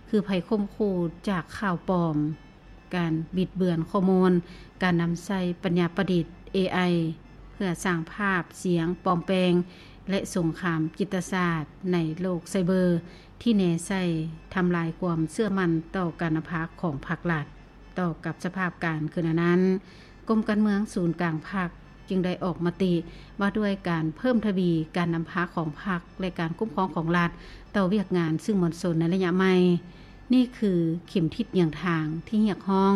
ຄືໄພຂົ່ມຂູ່ຈາກຂ່າວປອມ, ການບິດເບືອນຂໍ້ມູນ, ການນຳໃຊ້ປັນຍາປະດິດ ເອໄອ ເພື່ອສ້າງພາບສຽງປອມແປງ ແລະ ສົງຄາມຈິດຕະສາດໃນໂລກໄຊເບີ ທີ່ແນໃສ່ທຳລາຍຄວາມເຊື່ອໝັ້ນຕໍ່ການນຳພາຂອງພັກລັດ. ຕໍ່ກັບສະພາບການຄືນນັ້ນ, ກົມການເມືອງສູນກາງພັກຈຶ່ງໄດ້ອອກມະຕິວ່າດ້ວຍການເພີ່ມທະວີການນຳພາຂອງພັກ ແລະ ການຄຸ້ມຄອງຂອງລັດຕໍ່ວຽກງານສື່ມວນຊົນໃນໄລຍະໃໝ່. ນີ້ຄືເຂັມທິດເຫືອງທາງທີ່ຮຽກຮ້ອງ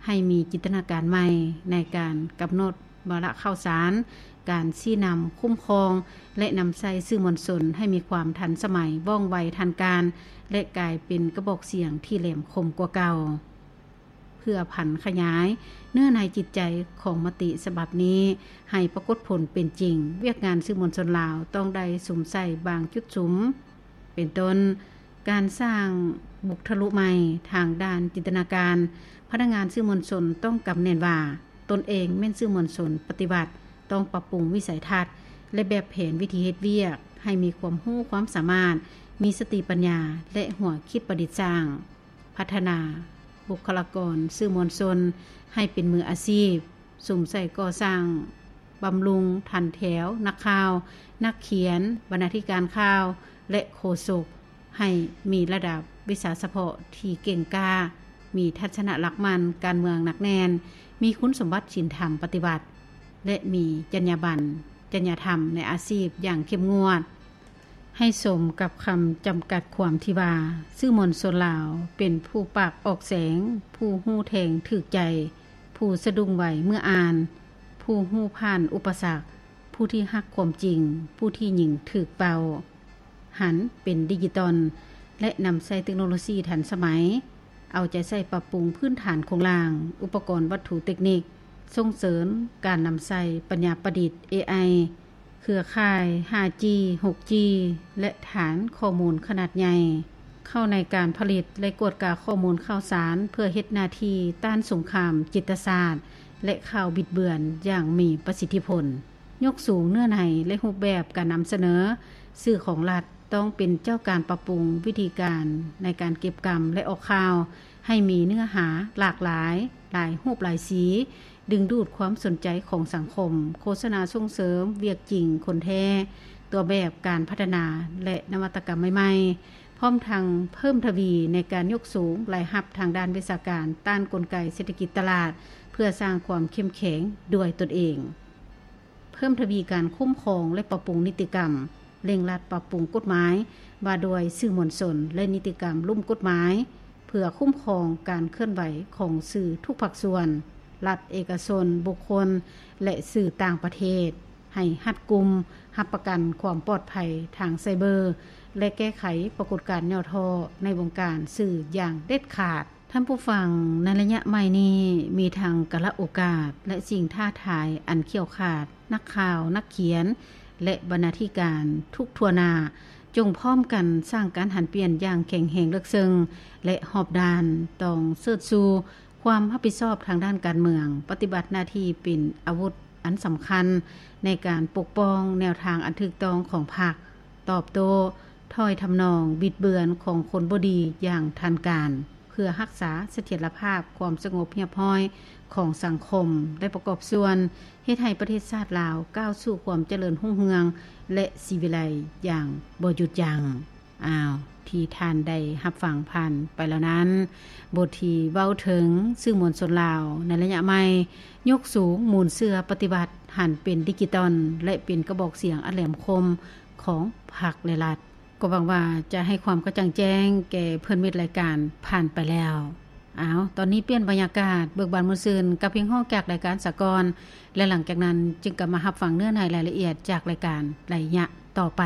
ໃຫ້ມີຈິນຕະນາການໃໝ່ໃນການກຳນົດວາລະຂ່າວສານ, ການຊີ້ນຳ, ຄຸ້ມຄອງ ແລະ ນຳໃຊ້ສື່ມວນຊົນໃຫ້ມີຄວາມທັນສະໄໝ, ວ່ອງໄວ, ທັນການ ແລະ ກາຍເປັນກະບອກສຽງທີ່ແຫຼມຄົມກວ່າເກົ່າ. ເພື່ອຜັນຂະຫຍາຍເນື້ອໃນຈິດໃຈຂອງມະຕິສະບັບນີ້ໃຫ້ປາກົດຜົນເປັນຈິງ, ວຽກງານສື່ມວນຊົນລາວຕ້ອງໄດ້ສຸມໃສ່ບາງຈຸດສຸມ, ເປັນຕົ້ນ, ການສ້າງບຸກທະລຸໃໝ່ທາງດ້ານຈິນຕະນາການ. ພະນັກງານສື່ມວນຊົນຕ້ອງກຳແໜ້ນວ່າ ຕົນເອງແມ່ນສື່ມວນຊົນປະຕິວັດ, ຕ້ອງປັບປຸງວິໄສທັດ ແລະ ແບບແຜນວິທີເຮັດວຽກໃຫ້ມີຄວາມຮູ້ຄວາມສາມາດ, ມີສະຕິປັນຍາ ແລະ ຫົວຄິດປະດິດສ້າງ. ພັດທະນາບຸກຄະລາກອນສື່ມວນຊົນໃຫ້ເປັນມືອາຊີບ, ສຸມໃສ່ກໍ່ສ້າງບຳລຸງຖັນແຖວນັກຂ່າວ, ນັກຂຽນ, ບັນນາທິການຂ່າວ ແລະ ໂຄສົກ ໃຫ້ມີລະດັບວິຊາສະເພາະທີ່ເກັ່ງກ້າ, ມີທັດສະນະຫຼັກໝັ້ນການເມືອງໜັກແໜ້ນ, ມີຄຸນສົມບັດສິນທຳປະຕິວັດ ແລະ ມີຈັນຍາບັນ, ຈັນຍາທຳໃນອາຊີບຢ່າງເຂັ້ມງວດ. ໃຫ້ສົມກັບຄຳຈຳກັດຄວາມທີ່ວ່າ, ສື່ມວນຊົນລາວເປັນຜູ້ປາກອອກແສງ, ຜູ້ຮູ້ແທງຖືກໃຈ, ຜູ້ສະດຸ້ງໄວເມື່ອອ່ານ, ຜູ້ຮູ້ຜ່ານອຸປະສັກ, ຜູ້ທີ່ຮັກຄວາມຈິງ, ຜູ້ທີ່ຍິງຖືກເປົ້າ, ຫັນເປັນດິຈິຕອນ ແລະ ນຳໃຊ້ເຕັກໂນໂລຊີທັນສະໄໝ, ເອົາໃຈໃສ່ປັບປຸງພື້ນຖານໂຄງລ່າງ, ອຸປະກອນວັດຖຸເຕັກນິກ, ສົ່ງເສີມການນຳໃຊ້ປັນຍາປະດິດ ເອໄອ, ເຄືອຂ່າຍ ຫ້າຈີ ຫົກຈີ ແລະ ຖານຂໍ້ມູນຂະໜາດໃຫຍ່ ເຂົ້າໃນການຜະລິດ ແລະ ກວດກາຂໍ້ມູນຂ່າວສານ ເພື່ອເຮັດໜ້າທີ່ຕ້ານສົງຄາມຈິດຕະສາດ ແລະ ຂ່າວບິດເບືອນຢ່າງມີປະສິດທິຜົນ. ຍົກສູງເນື້ອໃນ ແລະ ຮູບແບບການນຳສະເໜີ. ສື່ຂອງລັດຕ້ອງເປັນເຈົ້າການປັບປຸງວິທີການໃນການເກັບກຳ ແລະ ອອກຂ່າວ ໃຫ້ມີເນື້ອຫາຫຼາກຫຼາຍ, ຫຼາຍຮູບຫຼາຍສີ, ດຶງດູດຄວາມສົນໃຈຂອງສັງຄົມ, ໂຄສະນາສົ່ງເສີມວຽກຈິງຄົນແທ້, ຕົວແບບການພັດທະນາ ແລະ ນະວັດຕະກຳໃໝ່ໆ, ພ້ອມທັງເພີ່ມທະວີໃນການຍົກສູງລາຍຮັບທາງດ້ານວິຊາການ ຕ້ານກົນໄກເສດຖະກິດຕະຫຼາດ ເພື່ອສ້າງຄວາມເຂັ້ມແຂງດ້ວຍຕົນເອງ. ເພີ່ມທະວີການຄຸ້ມຄອງ ແລະ ປັບປຸງນິຕິກຳ, ເລັ່ງລັດປັບປຸງກົດໝາຍວ່າດ້ວຍສື່ມວນຊົນ ແລະ ນິຕິກຳລຸ່ມກົດໝາຍ ເພື່ອຄຸ້ມຄອງການເຄື່ອນໄຫວຂອງສື່ທຸກພາກສ່ວນ, ລັດ, ເອກະຊົນ, ບຸກຄົນ ແລະ ສື່ຕ່າງປະເທດ ໃຫ້ຮັດກຸມ, ຮັບປະກັນຄວາມປອດໄພທາງໄຊເບີ ແລະ ແກ້ໄຂປາກົດການຫຍໍ້ທໍ້ໃນວົງການສື່ຢ່າງເດັດຂາດ. ທ່ານຜູ້ຟັງ, ໃນໄລຍະໃໝ່ນີ້ ມີທັງກາລະໂອກາດ ແລະ ສິ່ງທ້າທາຍອັນຂຽວຂາດ. ນັກຂ່າວ, ນັກຂຽນ ແລະ ບັນນາທິການທຸກທົ່ວໜ້າ ຈົ່ງພ້ອມກັນສ້າງການຫັນປ່ຽນຢ່າງແຂງແຮງເລິກເຊິ່ງ ແລະ ຮອບດ້ານ, ຕ້ອງເຊີດຊູຄວາມຮັບຜິດຊອບທາງດ້ານການເມືອງ, ປະຕິບັດໜ້າທີ່ເປັນອາວຸດອັນສຳຄັນໃນການປົກປ້ອງແນວທາງອັນຖືກຕ້ອງຂອງພັກ, ຕອບໂຕ້ຖ້ອຍທຳນອງບິດເບືອນຂອງຄົນບໍ່ດີຢ່າງທັນການ ເພື່ອຮັກສາສະຖຽນລະພາບຄວາມສະຫງົບຮຽບຮ້ອຍຂອງສັງຄົມ ແລະ ປະກອບສ່ວນເຮັດໃຫ້ປະເທດຊາດລາວກ້າວສູ່ຄວາມຈະເລີນຮຸ່ງເຮືອງ ແລະ ສີວິໄລຢ່າງບໍ່ຢຸດຢັ້ງ. ອ້າວ, ທີ່ທ່ານໄດ້ຮັບຟັງຜ່ານໄປແລ້ວນັ້ນ, ບົດທີ່ເວົ້າເຖິງສື່ມວນຊົນລາວໃນໄລຍະໃໝ່, ຍົກສູງມູນເຊື້ອປະຕິວັດ, ຫັນເປັນດິຈິຕອນ ແລະ ເປັນກະບອກສຽງອັນແຫຼມຄົມຂອງພັກ ແລະ ລັດ. ກໍຫວັງວ່າຈະໃຫ້ຄວາມກະຈ່າງແຈ້ງແກ່ເພື່ອນມິດລາຍການຜ່ານໄປແລ້ວ. ອ້າວ, ຕອນນີ້ປ່ຽນບັນຍາກາດ, ເບີກບານມ່ວນຊື່ນກັບເພງຮ້ອງຈາກລາຍການສາກອນ ແລະ ຫຼັງຈາກນັ້ນຈຶ່ງກັບມາຮັບຟັງເນື້ອໃນລາຍລະອຽດຈາກລາຍການໄລຍະຕໍ່ໄປ.